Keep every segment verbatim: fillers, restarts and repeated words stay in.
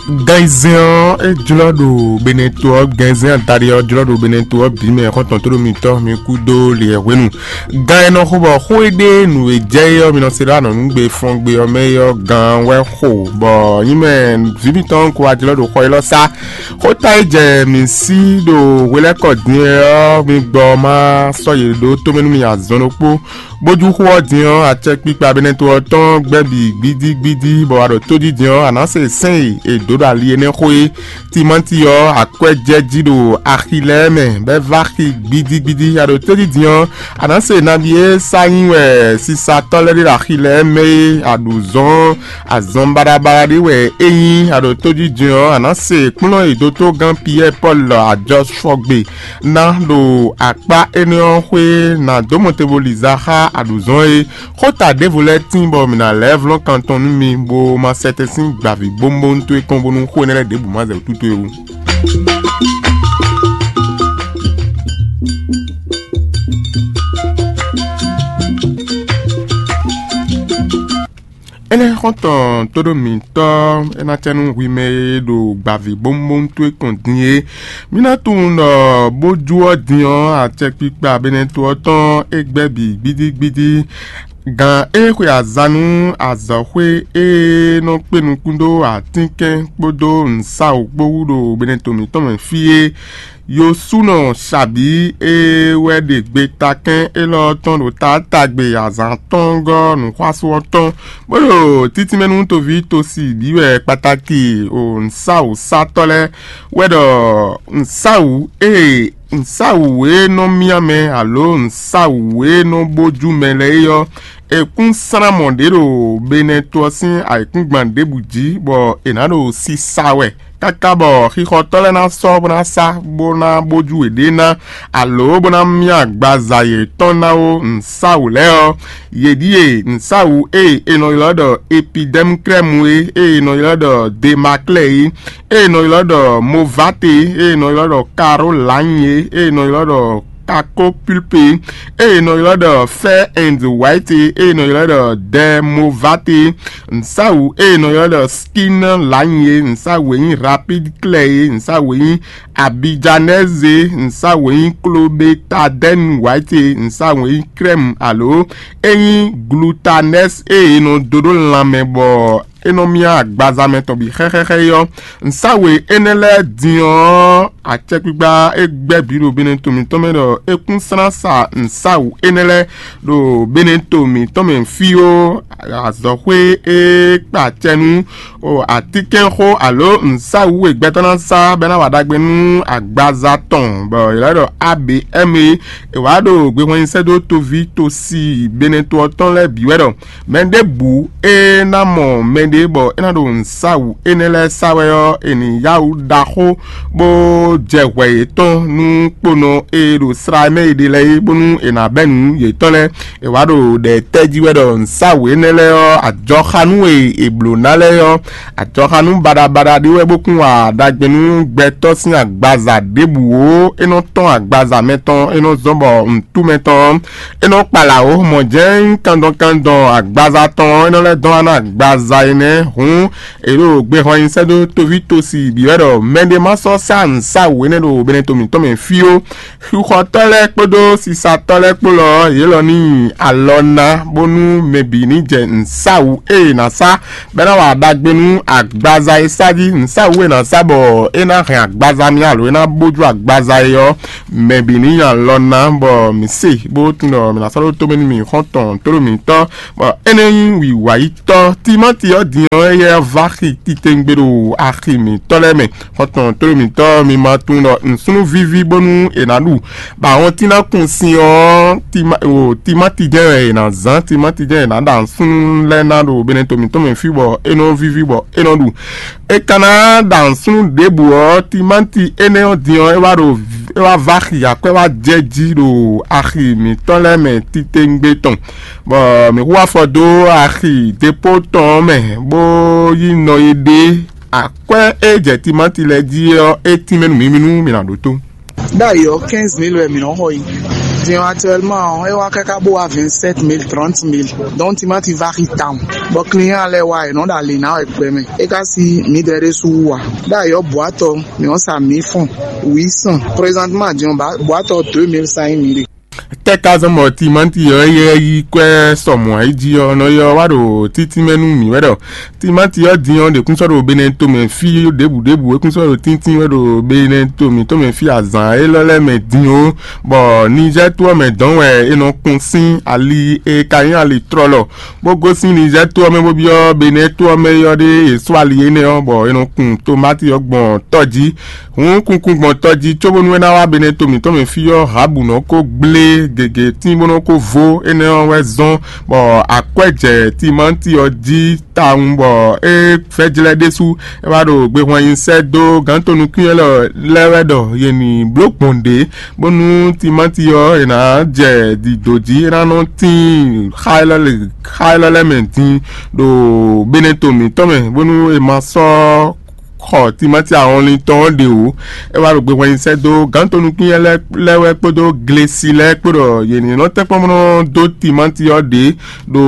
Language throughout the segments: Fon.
Gan ayizɛ́n ɔ́, é jlɔ́ ɖo Benɛto ɔ́, gan ayizɛ́n adaɖé ɔ́ jlɔ́ ɖo Benɛto ɔ́ bǐ mɛ, xɔ́ntɔn tóɖó mitɔ́ mi kú dó li ɛ hwenu. Gan e nɔ xo bɔ xó e ɖe nǔ e jɛ é ɔ́, mi nɔ se ɖó anɔ̌nugbe fɔngbe ɔ́ mɛ é ɔ́, gan wɛ xo, bɔ nyí mɛ vǐ mitɔn ko wá jlɔ́ ɖo xɔ élɔ́ sá. Xóta e jɛ mǐ sí ɖo hwelɛ́kɔ din é ɔ́, mi gbɔ ma sɔ́ yě ɖó tomɛ nú mi azɔn ɖokpó. Bójú xó ɔ́ din ɔ́, acɛkpikpa Benɛto ɔ́ tɔn gbɛ́ bǐ gbídígbídí, bɔ a ɖo tójí din ɔ́, a nǎ se sɛ́n e è dǒ ɖo ali énɛ́ xó é. Timáti ɔ́, akwɛ́ jɛ jí ɖo axi lɛ́ɛ mɛ, bɔ é vá xi gbídígbídí. A ɖo tójí din ɔ́, a nǎ se nabí e sá nyí wɛ sisatɔ́ lɛ́ɛ ɖe ɖo axi lɛ́ɛ mɛ é, a ɖu zɔn azɔn baɖabaɖa ɖé wɛ é nyí. A ɖo tójí din ɔ́, a nǎ se kplɔ́n e dótógán Piyɛ́ɛ Pɔ́lu ajɔ sɔgbe ná ɖo akpá énɛ́ ɔ́ xwé ná dó mɔ te bo li za xá aɖǔzɔ́n é. Xóta ɖěvo lɛ́ɛ tíin bɔ mǐ ná lɛ́ vlɔ́n kan tɔn nú mi, bó ma sɛtɛn sín gbavǐ bómbón towe kɔn bónú xó énɛ́ lɛ́ɛ ɖěbǔ ma zɛ wǔtútú é wú. Énɛ́ xɔ́ntɔn tóɖó mǐtɔn é ná cɛ nú hwi mɛ e ɖo gbavǐ bómbón towe kɔn din é. Mǐ ná tunwun ɖɔ bójú ɔ́ din ɔ́, acɛkpikpa Benɛto ɔ́ tɔn é gbɛ́ bǐ gbídígbídí. Gǎn e xwe azǎn nú azɔ̌xwé e nɔ kpé nukún dó atínkɛn kpódó nǔsáwǔ kpó wú ɖo Benɛto mǐtɔn mɛ fí é. Yosúnɔ Sabǐ e wɛ ɖe gbetakɛ́n élɔ́ tɔn ɖo taátagbe azǎn tɔn gɔ́ nǔxwású ɔ́ tɔn, bó ɖo títínmɛ nú toví tosi bǐ wɛ kpatáki o nǔsáwǔsátɔ́ lɛ́ɛ wɛ ɖɔ nǔsáwǔ e nǔsáwǔ e nɔ myá mɛ alo nǔsáwǔ e nɔ bójú mɛ lɛ́ɛ é ɔ́, è kún slán mɔ̌ ɖě ɖo Benɛto ɔ́ sín ayǐkúngban ɖěbǔ jí, bɔ è nǎ ɖo sisa wɛ káká bɔ xixɔtɔ́ lɛ́ɛ ná sɔ́ bó ná sá bó ná bójú yěɖée ná, alo bó ná myá agbaza yětɔn ná ó nǔsáwǔ lɛ́ɛ ɔ́, yě ɖíe nǔsáwǔ e è nɔ ylɔ́ ɖɔ epidɛ́mkrɛ́mu é, e è nɔ ylɔ́ ɖɔ demaklɛ́ é, e è nɔ ylɔ́ ɖɔ movate, e è nɔ ylɔ́ ɖɔ karolanye, e è nɔ ylɔ́ ɖɔ kakopulpe, e è nɔ ylɔ́ ɖɔ fair and white, e è nɔ ylɔ́ ɖɔ dɛmovate, nǔsáwǔ e è nɔ ylɔ́ ɖɔ skin lanye, nǔsáwǔ e nyí rapide klɛ é, nǔsáwǔ e nyí abijanɛze, nǔsáwǔ e nyí klobetadɛn white, nǔsáwǔ e nyí krɛ́mu alo e nyí glutanɛs e è nɔ dó ɖó lanmɛ bɔ é nɔ myá agbaza mɛ tɔn bǐ xɛxɛxɛ é ɔ́, nǔsáwǔ énɛ́ lɛ́ɛ din ɔ́, acɛkpikpa e gbɛ́ bǐ ɖo Benɛto mǐtɔn mɛ ɖɔ é kún slán sa nǔsáwǔ énɛ́ lɛ́ɛ ɖo Benɛto mǐtɔn mɛ fí ó, azɔ̌xwé e kpa acɛ nú o atínkɛnxó alo nǔsáwǔ e gbɛtɔ́ ná sá bɔ é ná wa ɖagbe nú agbaza tɔn, bɔ è lɛ́ ɖɔ A B M é, è wǎ ɖo gbehwɛnyi sɛ́ dó toví tosi Benɛto ɔ́ tɔn lɛ́ɛ bǐ wɛ ɖɔ mɛ ɖěbǔ e ná mɔ mɛɖé bɔ é ná ɖo nǔsáwǔ énɛ́ lɛ́ɛ sá wɛ ɔ́, è nǐ yá wǔ ɖaxó bó jɛ hwɛ yětɔn nú kponɔ e ɖo slá mɛ è ɖe lɛ́ɛ é, bónú è nǎ bɛ́ nǔ yětɔn lɛ́ɛ. È wǎ ɖo ɖɛ tɛ́ jí wɛ ɖɔ nǔsáwǔ énɛ́ lɛ́ɛ ɔ́, ajɔxanú e è blǒ ná lɛ́ɛ ɔ́, ajɔxanú baɖabaɖa ɖé wɛ bó kún wa ɖagbe nú gbɛtɔ́ sín agbaza ɖěbǔ ó. É nɔ tɔ́n agbaza mɛtɔn, é nɔ zɔ́n bɔ nǔtú mɛtɔn ɔ́, é nɔ kpala wǒ mɔ̌ jɛ́n kandɔn kandɔn agbaza tɔn ɔ́, é nɔ lɛ́ dɔn wá ná agbaza énɛ́. Hǔn è ɖo gbehɔn nyi sɛ́ dó toví tosi bǐ wɛ ɖɔ mɛɖé má sɔ́ sá nǔsáwǔ énɛ́ ɖo Benɛto mǐtɔn mɛ fí ó. Xixɔtɔ́ lɛ́ɛ kpódó sisatɔ́ lɛ́ɛ kpó lɔ ɔ́, yě lɔ ní nyi alɔ ná bónú mɛ bǐ ní jɛ nǔsáwǔ e è nǎ sá bɔ é ná wa ɖagbe nú agbaza e sá jí. Nǔsáwǔ e è nǎ sá bɔ é ná hɛn agbaza mì alo é ná bójú agbaza é ɔ́, mɛ bǐ ní nyi alɔ ná, bɔ mǐ se bó tunwun ɖɔ mǐ ná sɔ́ ɖó tomɛ nú mì xɔ́ntɔn tlóló mǐtɔn, bɔ énɛ́ nyí wǐwáyítɔ́. Timáti ɔ́ din ɔ́, éyɛ́ vá xi titewungbe ɖo axi mǐtɔn lɛ́ɛ mɛ. Xɔ́ntɔn tlóló mǐtɔn, mi ma tunwun ɖɔ nǔsúnnú víví bónú è nǎ ɖu, bɔ ahɔntín ná kun sin ɔ́, tima- o, timáti jɛ́n wɛ è nǎ zán, timáti jɛ́n è nǎ ɖa nǔsúnnú lɛ́ɛ ná ɖo Benɛto mǐtɔn mɛ fí bɔ é nɔ víví bɔ é nɔ ɖu. É ka ná ɖa nǔsúnnú ɖěbǔ ɔ́, timáti énɛ́ ɔ́ din ɔ́, é wá ɖo é wá vá xi akwɛ́ wá jɛ jí ɖo axi mǐtɔn lɛ́ɛ mɛ titewungbe tɔn, bɔ mǐ hu afɔ dó axi depó tɔn ɔ́ mɛ, bó yí nɔ e ɖe akwɛ́ e jɛ timáti lɛ́ɛ jí ɔ́, é tínmɛ nú mǐ, mǐ nú mǐ ná ɖótó. Ɖ'ayǐ ɔ́, quinze mille wɛ mǐ nɔ xɔ yi. Din actuellement ɔ́, é wá káká bó wá vingt-sept mille, trente mille. Donc timati vari tawun. Bɔ client lɛ́ɛ wá, è nɔ ɖo ali ná wɛ gbɛmɛ. É ka si mǐdɛɛ ɖésú wú a? Ɖó ayɔ boatɔ, mǐ ɔ́ sa mǐ fɔn huit cents. Présentement din ɔ́, boatɔ deux mille cinq mille. Tɛ́ ka zɔ́n bɔ timati ɔ́ yɛ yí kwɛ́ sɔmɔ̌ ayí jí ɔ́, nɔ ɔ́ wá ɖo títí mɛ nú mǐ wɛ ɖɔ timati ɔ́ din ɔ́ ɖě kún sɔ́ ɖo Benɛ́ɛ tomɛ fí ɖěbǔ ɖěbǔ, é kún sɔ́ ɖo tíntín wɛ ɖo Benɛ́ɛ to mǐtɔn mɛ fí azǎn élɔ́ lɛ́ɛ mɛ din ó, bɔ Nizɛ́ɛ to ɔ́ mɛ dɔn wɛ è nɔ kun sín ali e ka nyí ali tlɔlɔ, bó gosín Nizɛ́ɛ to ɔ́ mɛ bó byɔ́ Benɛ́ɛ to ɔ́ mɛ ɔ́ ɖé è sɔ́ ali énɛ́ ɔ́, bɔ è nɔ kun tomati ɔ́ gbɔn tɔ́ jí. Hǔn kunkun gbɔn tɔjí cóbónú é ná wá Benɛ́ɛ to mǐtɔn mɛ fí ɔ́, Habu nɔ ko gblé gěgé tín bó nɔ ko vo énɛ́ ɔ́ wɛ zɔ́n, bɔ akwɛ́ jɛ timati ɔ́ jí tawun, bɔ é vɛ́jlɛ́ ɖésú é wá ɖo gbehwan nyi sɛ́ dó gǎn tonukún lɛ́ɛ wɛ ɖɔ yě ní bló gbɔn ɖě, bónú timati ɔ́ è nǎ jɛ dǐdó jí, é ná nɔ tín xá élɔ́ lɛ́ɛ mɛ din ɖo Benɛ́ɛ to mǐtɔn mɛ, bónú è ma sɔ́ xɔ timati ahɔnlin tɔn ɔ́ ɖe wǒ. É wá ɖo gbe hwɛnyi sɛ́ dó gǎn tonukún lɛ́ɛ wɛ kpódó glesi lɛ́ɛ kpó ɖɔ yě ní nɔ tɛ́nkpɔ́n bó nɔ dó timati ɔ́ ɖě ɖo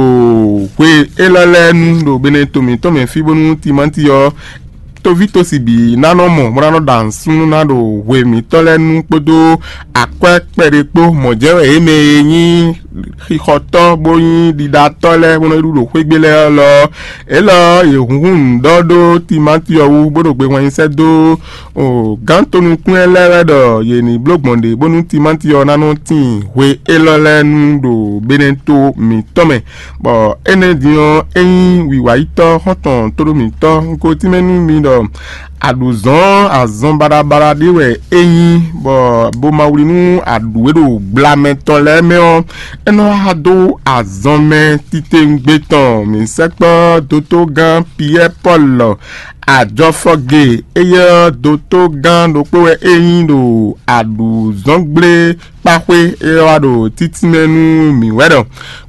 hwe élɔ́ lɛ́ɛ nu ɖo Benɛ́ɛ to mǐtɔn mɛ fí, bónú timati ɔ́ toví tosi bǐ ná nɔ mɔ bó ná nɔ ɖa nǔsúnnú ná ɖo hwe mǐtɔn lɛ́ɛ nu kpódó akwɛ́ kpɛɖé kpó. Mɔ̌ jɛ́n wɛ yě mɛ e nyí xixɔtɔ́ bó nyí ɖiɖatɔ́ lɛ́ɛ bó nɔ yi ɖu ɖo xwé gbe lɛ́ɛ lɔ ɔ́, élɔ́ yě hunhun nǔ ɖɔ ɖó timati ɔ́ wú, bó ɖo gbe hwɛnyi sɛ́ dó gǎn tonukún lɛ́ɛ wɛ ɖɔ yě ní bló gbɔn ɖě bónú timati ɔ́ ná nɔ tíin hwe élɔ́ lɛ́ɛ nu ɖo Benɛ́ɛ to mǐtɔn mɛ. Bɔ énɛ́ din ɔ́, é nyí wǐwáyítɔ́ xɔ́ntɔn tóɖó mǐtɔn, un ko tínmɛ nú mi ɖɔ aɖǔzɔ́n azɔn baɖabaɖa ɖé wɛ é nyí, bɔ bo ma wlí nú aɖǔ e ɖo gblamɛ tɔn lɛ́ɛ mɛ ɔ́, é nɔ wá dó azɔn mɛ titewungbe tɔn. Mǐ sɛkpɔ́ dotogán Piyɛ́ɛ Pɔ́lu ajɔfɔge, éyɛ́ ɔ́ dotogán ɖokpó wɛ é nyí ɖo aɖǔzɔ́ngblé kpaxwé e wá ɖo títínmɛ nú mǐ wɛ ɖɔ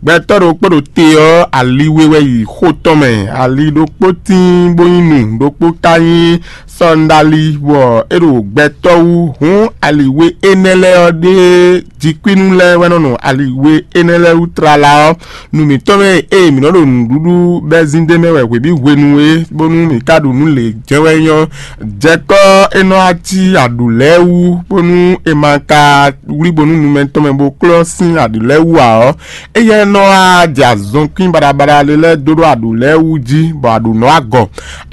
gbɛtɔ́ ɖokpó ɖo te ɔ́, ali we wɛ yi xo tɔn mɛ. Ali ɖokpó tíin bó nyí nu, ɖokpó ka nyí sɔndali, bɔ é ɖo gbɛtɔ́ wú. Hǔn ali we énɛ́ lɛ́ɛ ɔ́ ɖe jikwínú lɛ́ɛ wɛ nɔ nɔ ali we énɛ́ lɛ́ɛ wú tlala ɔ́. Nu mǐtɔn mɛ e mǐ nɔ ɖo nǔɖuɖu bɛ́ zín d'é mɛ wɛ hwebǐ hwenu é, bónú mǐ ka ɖu nǔ lě jɛ́n wɛ nyɔ́. Jɛkɔ́ é nɔ wá cí aɖǔ lɛ́ɛ wú, bónú è ma ka wlí bónú nu mɛtɔn mɛ bó klɔ́ sín aɖǔ lɛ́ɛ wú ǎ ɔ́, éyɛ́ nɔ wá jɛ azɔnkwín baɖabaɖa ɖé lɛ́ɛ dó ɖó aɖǔ lɛ́ɛ wú jí, bɔ aɖǔ nɔ wá gɔ,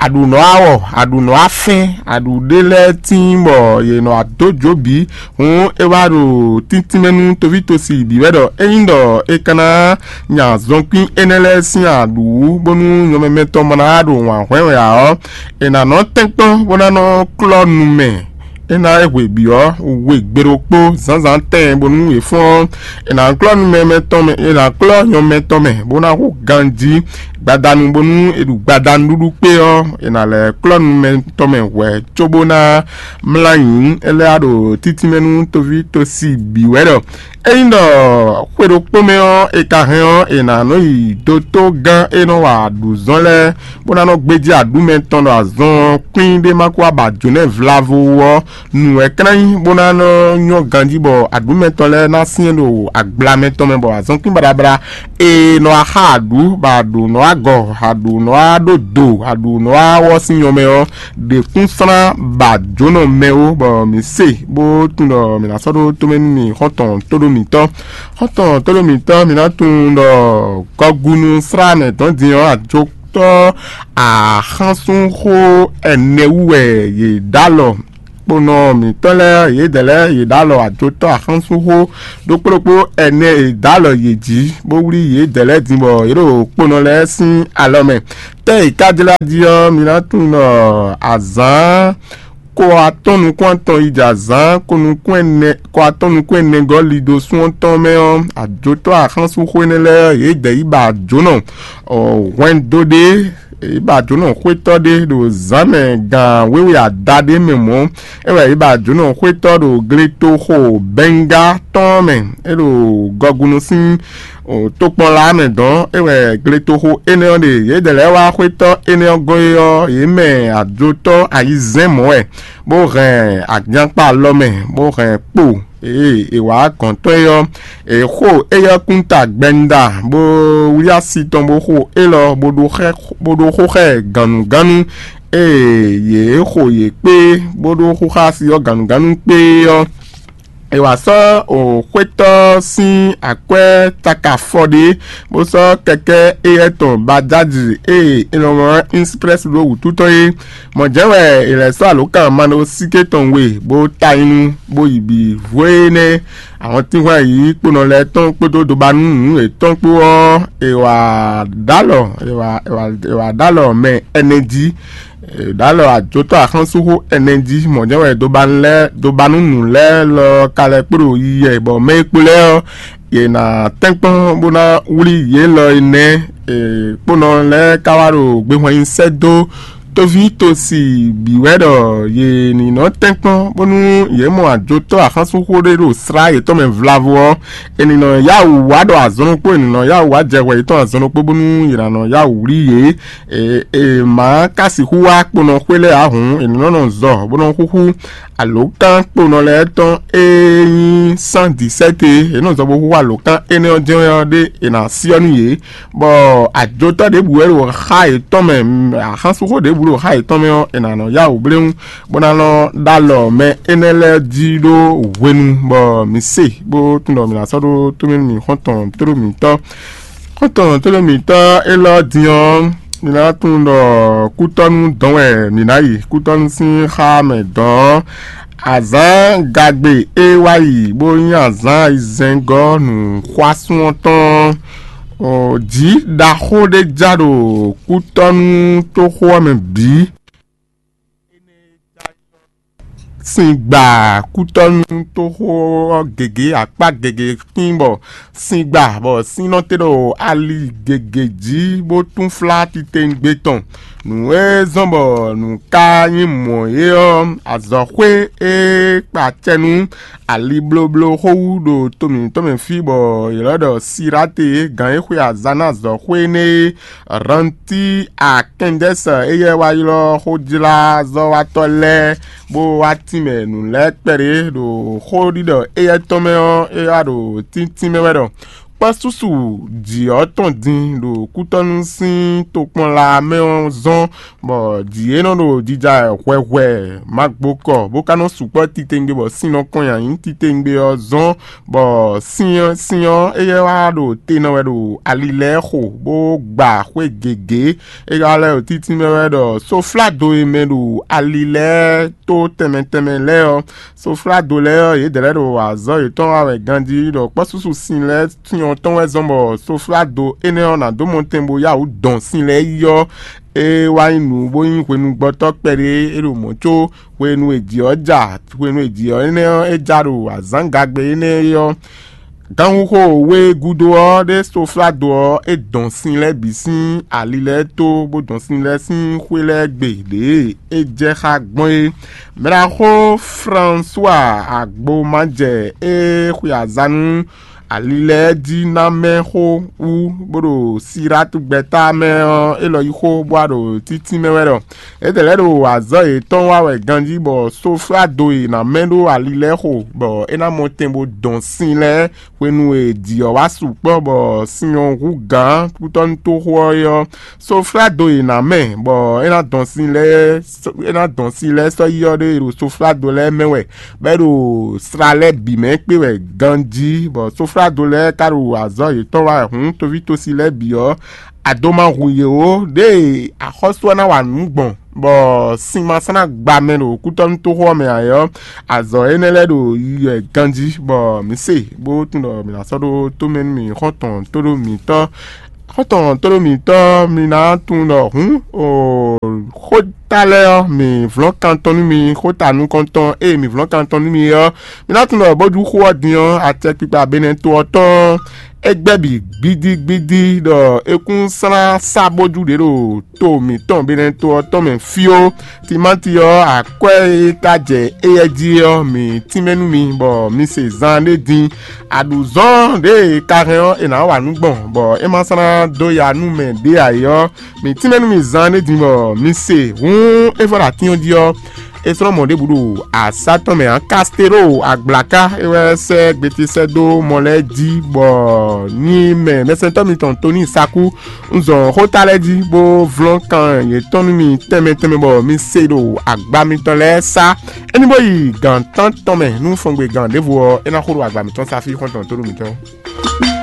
aɖǔ nɔ wá wɔ, aɖǔ nɔ wá fɛ́n, aɖǔ ɖé lɛ́ɛ tíin bɔ yě nɔ wá dó jǒ bǐ. Hǔn é wá ɖo tíntín mɛ nú toví tosi bǐ wɛ ɖɔ ényí ɖɔ è ka ná nya azɔnkwín énɛ́ lɛ́ɛ sín aɖǔ, bónú nyɔ̌mɛmɛ tɔn ma ná ɖo wǎn hwɛ́n wɛ ǎ ɔ́, è nǎ nɔ tɛ́nkpɔ́n bó ná nɔ klɔ́ nu mɛ. É ná é hwe bǐ ɔ́, we gbe ɖokpó zǎnzǎn tɛn bónú è fɔ́n ɔ́, è nǎ klɔ́ nu mɛ mɛtɔn mɛ, è nǎ klɔ́ nyɔ mɛtɔn mɛ, bó ná hu ganjí gbadanu, bónú è ɖu gbadanu ɖuɖu kpé ɔ́, è nǎ lɛ́ klɔ́ nu mɛtɔn mɛ hwɛ̌ cóbó ná mlá nyǐ. É lɛ́ wá ɖo títínmɛ nú toví tosi bǐ wɛ ɖɔ ényí ɖɔ xwe ɖokpó mɛ ɔ́, è ka hɛn ɔ́, è nǎ nɔ yi dotó gán e nɔ wa aɖǔzɔ́n lɛ́ɛ, bó ná nɔ gbéjé aɖǔ mɛtɔn ɖɔ azɔn kwín ɖé ma kó wá ba jǒnɛ vlavo wú ɔ́, nǔ wɛ klɛ́n nyí bó ná nɔ nyɔ́ ganjí bɔ aɖǔ mɛtɔn lɛ́ɛ ná syɛ́n ɖo agbla mɛtɔn mɛ, bɔ azɔn kwín baɖabaɖa e nɔ wá xa aɖǔ, bɔ aɖǔ nɔ wá gɔ, aɖǔ nɔ wá ɖó do, aɖǔ nɔ wá wɔ sín nyɔ mɛ ɔ́, ɖě kún slán ba jǒnɔ mɛ ó, bɔ mǐ se bó tunwun ɖɔ mǐ ná sɔ́ ɖó tomɛ nú mi xɔ́ntɔn tóɖó mǐtɔn. Xɔ́ntɔn tóɖó mǐtɔn, mǐ ná tunwun ɖɔ gɔgunu slá mɛ dɔn din ɔ́, ajotɔ́ axánsúnxó ɛnɛ wú wɛ yě ɖó alɔ. Kponɔ mǐtɔn lɛ́ɛ yědɛɛ lɛ́ɛ yě ɖó alɔ ajotɔ́ axánsúnxó ɖokpó ɖokpó ɛnɛ e dó alɔ yě jí, bó wlí yědɛɛ lɛ́ɛ din bɔ yě ɖo kponɔ lɛ́ɛ sín alɔ mɛ. Tɛ́ è ka jlá jí ɔ́, mi ná tunwun ɖɔ azǎn ko atɔ́n nukún atɔn yi jɛ azǎn ko nukún ɛnɛ ko atɔ́n nukún ɛnɛ gɔ́ lido sún ɔ́ tɔn mɛ ɔ́, ajotɔ́ axánsúnxó énɛ́ lɛ́ɛ yědɛɛ yi ba jǒnɔ hwɛndo ɖé, yě ba jǒnɔ xwétɔ́ ɖé ɖo zǎn mɛ gan wěwe ada ɖé mɛ mɔ̌. É wɛ yě ba jǒnɔ xwétɔ́ ɖo gletoxo Bɛngá tɔn mɛ, é ɖo gɔgunu sín tokpɔnla mɛ dɔn. É wɛ gletoxo énɛ́ ɔ́ ɖe. Yědɛɛ lɛ́ɛ wá xwétɔ́ énɛ́ ɔ́ gɔ́n é ɔ́, yě mɛ ajotɔ́ ayizɛ́n mɔ̌ wɛ, bó hɛn agyankpa alɔ mɛ, bó hɛn kpo Ee è wǎ gɔ̌n tɔn é ɔ́, è xo éyɛ́ kún ta gbɛnda, bó wlí asi tɔn bó xo élɔ́, bó ɖó xɛ bó ɖó xó xɛ gannugánnu. Ee yě xo yě kpé, bó ɖó xóxá asi ɔ́ gannugánnu kpé ɔ́, è wǎ sɔ́ xwétɔ́ sín akwɛ́ taka afɔ ɖé, bó sɔ́ kɛkɛ́ éyɛ́ tɔn bajáji e è nɔ mlɔ́ Insiprɛ́si ɖó wǔtu tɔn é. Mɔ̌ jɛ́n wɛ è lɛ̌ sɔ́ alǒkan maɖósíké tɔn we, bó ta nyi nú, bó yi bǐ vó énɛ́. Ahɔntínhwan yǐyí kponɔ lɛ́ɛ tɔn kpódó dobanú nǔ yětɔn kpó ɔ́, è wǎ ɖó alɔ è wǎ è wǎ è wǎ ɖó alɔ mɛ ɛnɛ jí. È ɖó alɔ ajotɔ́ axɔ́súxó ɛnɛ jí. Mɔ̌ jɛ́n wɛ dobanú lɛ́ɛ dobanú nǔ lɛ́ɛ lɔ ka lɛ́ kpo ɖo yiyi wɛ, bɔ mɛ e kpo lɛ́ɛ ɔ́, yě ná tɛ́nkpɔ́n bó ná wlí yě lɔ é nɛ́. Kponɔ lɛ́ɛ ka wá ɖo gbehwan nyi sɛ́ dó tóví tosi bǐ wɛ ɖɔ yě ní nɔ tɛ́nkpɔ́n bónú yě mɔ ajotɔ́ axɔ́súxó ɖé ɖo slá yětɔn mɛ vlavo ɔ́, è nǐ nɔ yá wǔ wá ɖɔ azɔn ɖokpó, è nǐ nɔ yá wǔ wá jɛ hwɛ yětɔn azɔn ɖokpó bónú yě ná nɔ yá wǔ wlí yě. È è má ka sixú wá kponɔ xwé lɛ́ɛ ǎ hǔn, è nǐ nɔ nɔ zɔ bó nɔ xúxú alǒkan kponɔ lɛ́ɛ tɔn e nyí sán dǐsɛ́te. È nɔ zɔ bó xúxú alǒkan énɛ́ ɔ́ jɛ́n ɔ́ ɖé è nǎ syɔ́ nú yě, bɔ ajotɔ́ ɖěbǔ wɛ ɖo xá yětɔn mɛ, axɔ́súxó ɖěbǔ ɖo xá yětɔn mɛ ɔ́, è nǎ nɔ yá wǔ bléwún, bó ná nɔ ɖó alɔ mɛ énɛ́ lɛ́ɛ jí ɖó hwenu, bɔ mǐ se, bó tunwun ɖɔ mǐ ná sɔ́ ɖó tómɛ nú mǐ xɔ́ntɔn tóɖó mǐtɔn. Xɔ́ntɔn tóɖó mǐtɔn élɔ́ din ɔ́, mǐ ná tunwun ɖɔ kútɔ́nú dɔn wɛ mǐ ná yi. Kútɔ́nú sín xá mɛ dɔn ɔ́, azǎn gagbe e wá yi bó nyí azǎn ayizɛ́ngɔ́ nǔxwásún ɔ́ tɔn ɔ́, jǐ ɖaxó ɖé ja ɖo kútɔ́nú toxo ɔ́ mɛ bǐ. Sin gba kútɔ́nú toxo ɔ́ gěgé akpá gěgé kpín bɔ sin gba bɔ sin nɔ te ɖo ali gěgé jí bó túnflá titewungbe tɔn. Nǔ e zɔ́n bɔ nǔ ka nyí mɔ̌ é ɔ́, azɔ̌xwé e kpa acɛ nú ali blóbló xó wú ɖo to mǐtɔn mɛ fí bɔ yě lɛ́ ɖɔ Siráte, gǎn e xwe azǎn ná azɔ̌xwé énɛ́ é, Ranti Akɛndɛ́sɛ éyɛ́ wá ylɔ́ xójlázɔ́watɔ́ lɛ́ɛ bó wá tínmɛ nǔ lɛ́ɛ kpɛɖé ɖo xóɖiɖɔ éyɛ́ tɔn mɛ ɔ́, é wá ɖo tíntín mɛ wɛ ɖɔ kpɔ́ súsu jǐ ɔ́ tɔn din ɖo kútɔ́nú sín tokpɔnla mɛ ɔ́ zɔ́n, bɔ jǐ e nɔ ɖo jija wɛ hwɛhwɛ magbokɔ bó ka nɔ sukpɔ́ titewungbe bɔ sin nɔ kɔn nyi ayǐ titewungbe ɔ́ zɔ́n, bɔ sin ɔ́ sin ɔ́ éyɛ́ wá ɖo te nɔ wɛ ɖo ali lɛ́ɛ xo bó gba xwé gěgé. É ka lɛ́ ɖo títí mɛ wɛ ɖɔ sofládo e mɛ ɖo ali lɛ́ɛ tó tɛnmɛ tɛnmɛ lɛ́ɛ ɔ́, sofládo lɛ́ɛ ɔ́, yědɛɛ lɛ́ɛ ɖo azɔ̌ yětɔn wa wɛ ganjí ɖɔ kpɔ́súsu sin lɛ́ɛ sin ɔ́ tɔn wɛ zɔ́n bɔ sofládo énɛ́ ɔ́ ná dó mɔtɛn bó yá wǔ dɔn sin lɛ́ɛ yi ɔ́, é wá nyí nǔ bó nyí hwenugbɔtɔ́ kpɛɖé é ɖo mɔ̌ có hwenu e jǐ ɔ́ ja hwenu e jǐ ɔ́ énɛ́ ɔ́ é ja ɖo azǎngagbe énɛ́ é ɔ́, ganxixo we gúdo ɔ́ ɖé sofládo ɔ́ é dɔn sin lɛ́ɛ bǐ sín ali lɛ́ɛ tó bó dɔn sin lɛ́ɛ sín xwé lɛ́ɛ gbe ɖě e é jɛ xá gbɔn é. Mɛɖaxó Fransua Agbomajɛ e xwe azǎn nú ali lɛ́ɛ jí ná mɛ xó wú bó ɖo Silátu gbɛ́ta mɛ ɔ́, élɔ́ yí xó bó wá ɖo títí mɛ wɛ ɖɔ étɛ́ lɛ́ɛ ɖo azɔ̌ yětɔn wa wɛ ganjí bɔ sofládo e è nǎ mɛ ɖó ali lɛ́ɛ xo, bɔ é ná mɔ tɛn bó dɔn sin lɛ́ɛ hwenu e jǐ ɔ́ wá sukpɔ́, bɔ sin ɔ́ hú gǎn kútɔ́nútoxo ɔ́ é ɔ́, sofládo e è nǎ mɛ bɔ é ná dɔn sin lɛ́ɛ é ná dɔn sin lɛ́ɛ sɔ́ yi ɔ́ ɖé e ɖo sofládo lɛ́ɛ mɛ wɛ, bɔ é ɖo sla lɛ́ɛ bǐ mɛ kpé wɛ ganjí, bɔ sofládo lɛ́ɛ ka ɖo azɔ̌ yětɔn wa wɛ hǔn toví tosi lɛ́ɛ bǐ ɔ́, a do ma hu yě ó. Ɖěe axɔ́sú ɔ́ ná wa nǔ gbɔn, bɔ sin ma sɔ́ ná gba mɛ ɖo kútɔ́nútoxo ɔ́ mɛ ǎ é ɔ́, azɔ̌ énɛ́ lɛ́ɛ ɖo yiyi wɛ ganjí, bɔ mǐ se, bó tunwun ɖɔ mǐ ná sɔ́ ɖó tómɛ nú mì xɔ́ntɔn tóɖó mǐtɔn. Xɔ́ntɔn tóɖó mǐtɔn, mi ná tunwun ɖɔ hǔn o xóta lɛ́ɛ ɔ́, mǐ vlɔ́n kan tɔn nú mi, xóta nukɔntɔn e mǐ vlɔ́n kan tɔn nú mi é ɔ́, mi ná tunwun ɖɔ bójú xó ɔ́ din ɔ́, acɛkpikpa Benɛto ɔ́ tɔn ɔ́, é gbɛ́ bǐ gbídígbídí ɖɔ é kún slán sá bójú ɖě ɖo to mǐtɔn Benɛto ɔ́ tɔn mɛ fí ó. Timáti ɔ́, akwɛ́ e ka jɛ éyɛ́ jí ɔ́, mǐ tínmɛ nú mi, bɔ mi se zan ɖé din. Aɖǔzɔ́n ɖě e ka hɛn ɔ́, è nǎ wa nǔ gbɔn, bɔ é ma slán dó ya nú mɛ ɖě ǎ é ɔ́, mǐ tínmɛ nú mi zan ɖé din, bɔ mi se. Hǔn é vɔ ɖo atín ɔ́ jí ɔ́, é slɔ́ mɔ̌ ɖěbǔ ɖo asá tɔn mɛ ǎ. Kastelo Agblaka é wɛ sɛ́ gbeti sɛ́ dó mɔ lɛ́ɛ jí, bɔ nyi mɛ mɛsɛntɔ́ mitɔn Toni Saku un zɔn xóta lɛ́ɛ jí bó vlɔ́n kan yětɔn nú mi tɛnmɛ tɛnmɛ bɔ mi se ɖo agba mitɔn lɛ́ɛ sá. É ní bó yi gǎn tántɔn mɛ nú fɔngbe gǎn ɖěvo ɔ́, é ná xo ɖo agba mitɔn sá fí xɔ́ntɔn tónú mitɔn.